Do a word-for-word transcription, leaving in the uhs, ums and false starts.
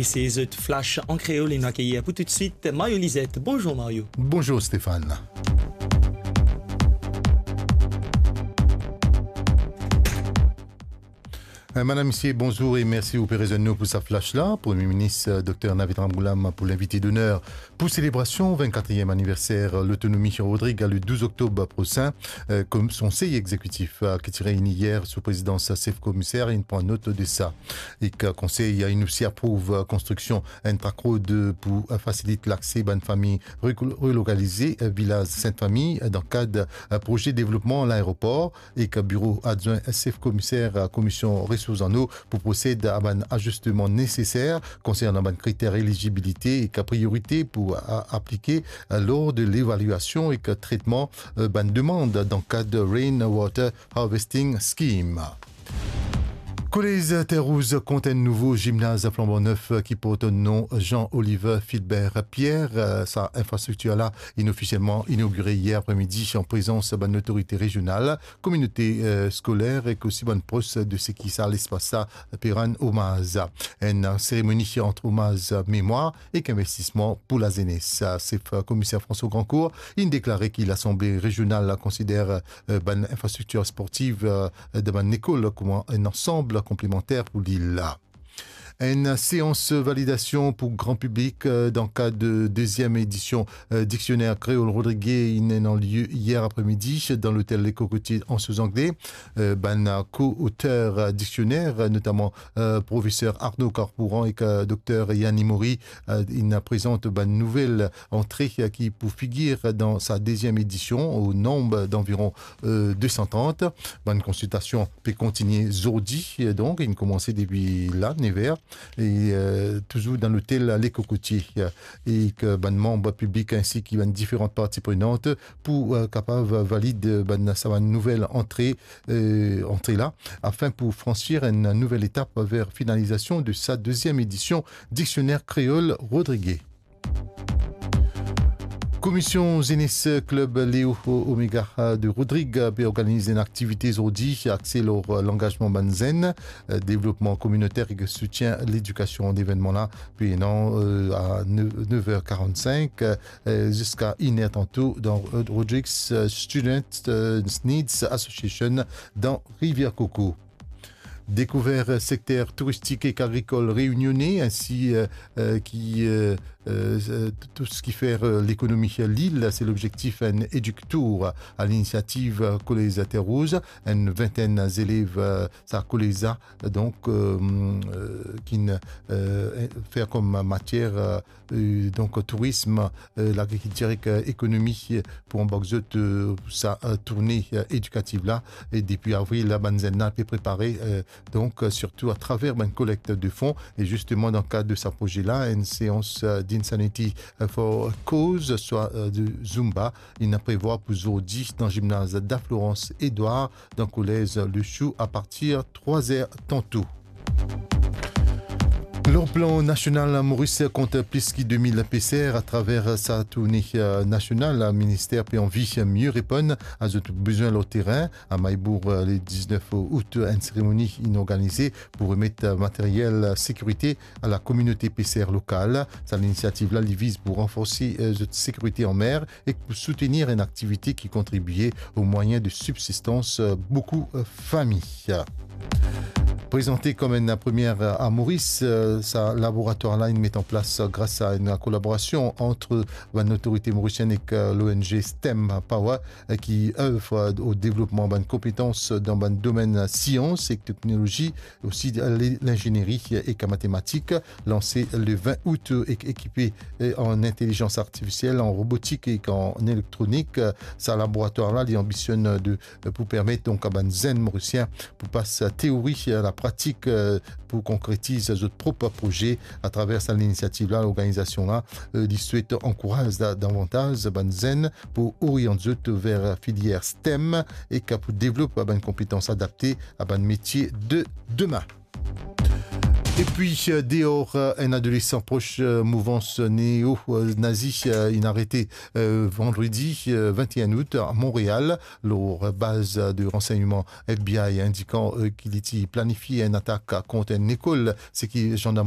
E se zot Flash an kreol e nou akeyir pou toutswit Mario Lizet. Bonzour Mario. Bonzour Stéphane. Eh, madam, misie, bonzour e mersi ou pe rezwenn nou pou sa flash la. Premie Minis, eh, Dokter Navid Ramgoolam pou linvite doner pou selebrasion vennkatriem aniverser lotonomi Rodrig le douz oktob prosin, eh, kom Konsey Egzekitif, eh, ki ti reyini yer sou prezidans sef komiser, inn pran not de sa. Ek, eh, Konsey, eh, inn osi aprouv, eh, konstriksion enn track road pou, eh, fasilit lakse bann fami re-, relokalize, eh, vilaz Sint Fami, eh, dan kad, eh, proze devlopman laeropor. Ek biro adwin sef komiser Komisyon Resours en Eau pou prosed a bann azisteman neseser konsernan bann kriter elizibilite ek priyorite pou a-, aplike lor de levalyasion ek tretman, eh, bann demann dan kad Rainwater Harvesting Scheme. Kolez Terrouz kont enn nouvo zimnaz flanban nef ki port nom Jean Oliver Filbert Pierre. Sa infrastriktir la inn ofisielman inogire yer apremidi an prezans bann lotorite rezional, kominote, eh, skoler ek osi bann pros de seki sa lespas la pe rann omaz. Enn seremoni ant omaz memwar ek investisman pou lazenes. Sef komiser François Grandcourt inn deklare ki Lasanble Rezional la konsider, eh, bann infrastriktir sportiv, eh, dan bann lekol kouma enn ansam konplemanter pou lil la. Enn seans validasion pou gran piblik, eh, dan kad deziem edision, eh, Diksioner Kreol Rodrige inn ena lie yer apremidi dan lotel Le Cocotier Anse aux Anglais. Eh, bann ko-oter, eh, diksioner, eh, notaman, eh, profeser Arnaud Carpouran ek, eh, dokter Yanni Maury, eh, inn prezant bann nouvel antre, eh, ki pou figir dan sa deziem edision, o nonb danviron, eh, de san trant. Bann konsiltasion pe kontigne zordi, eh, donk, inn koumanse depi la, nev er, e, eh, touzour dan lotel Le Cocotier, eh, e ki bann manm piblik ainsi ki bann diferan parti prenant pou, eh, kapav valid, eh, bann, sa bann nouvel antre, eh, antre la, afin pou fransir enn nouvel etap ver finalizasion de sa deziem edision Diksioner Kreol Rodrige. Komisyon Zenes Klib Leo Omega de Rodrig pe organiz enn aktivite zordi axe lor langazman bann zenn, devlopman kominoter ek soutien ledikasion. Levennman la pe ena, eh, a nev, nev er karant-sink, eh, ziska inn er tanto dan Rodrig's, eh, Student, eh, Needs Association dan Rivière Coco. Dekouver sekter touristik ek agrikol reynione, ainsi, eh, eh, ki, eh, eh, tou, tou seki fer, eh, lekonomi lil, se lobzektif enn Eductour a linisiativ, eh, Kolez Terrouz, enn vintenn zelev, eh, sa kolez la, donk, eh, eh, ki'nn, eh, fer kom matier, eh, eh, donk tourism, eh, lagrikiltir ek, eh, ekonomi, eh, pou anbark zot, eh, sa, eh, tourne, eh, edikativ la. E depi avril la, bann zenn la pe prepare, eh, donk, eh, sirtou atraver bann kolekt de fon. E zisteman, dan kad de sa proze la, enn seans, eh, d'Insanity, eh, for Cause, swa, eh, de Zumba, inn prevwar pou zordi dan zimnaz Da Florence Edouard, dan kolez Le Chou, apartir trwa zer tanto. Lor plan nasional, Moris kont plis ki de mil peser. Atraver sa tourne, eh, nasional, minister pe anvi mie reponn a zot bizin lor terin. A Mahe-Bourg, eh, le diznef out, enn seremoni inn organize pou remet, eh, materyel sekirite a lakominote peser lokal. Sa linisiativ la, li viz pou ranforse, eh, zot sekirite anmer ek pou soutenir enn aktivite ki kontribie o mwayin de sibsistans, eh, boukou, eh, fami. Prezante kom enn premie, eh, a Moris, eh, sa laboratwar la inn met an plas, eh, gras a enn kolaborasion ant bann lotorite morisienn ek, eh, l'O N G STEM Power, eh, ki ev, eh, o devlopman bann konpetans dan bann domenn sians ek teknolozi, osi le-, linzenieri ek matematik. Lanse le vin out ek ekipe, eh, an intelizans artifisiel, an robotik ek an elektronik. Sa laboratwar la, li anbisionn de, pou permet donk a bann zenn Morisien pou pas teori a lapratik, eh, pou konkretiz zot prop proze. Atraver sa linisiativ la, lorganizasion la, eh, li swet ankouraz da-, davantaz bann zenn pou oriant zot ver filier STEM ek pou devlop bann konpetans adapte a bann metie de demin. Epi, eh, deor, eh, enn adolesan pros, eh, mouvans neo, eh, nazi, eh, inn arete, eh, vandredi, eh, vinteen out a Montreal, lor baz de ransegnman F B I indikan, eh, ki li ti planifie enn atak kont enn lekol, seki zandarm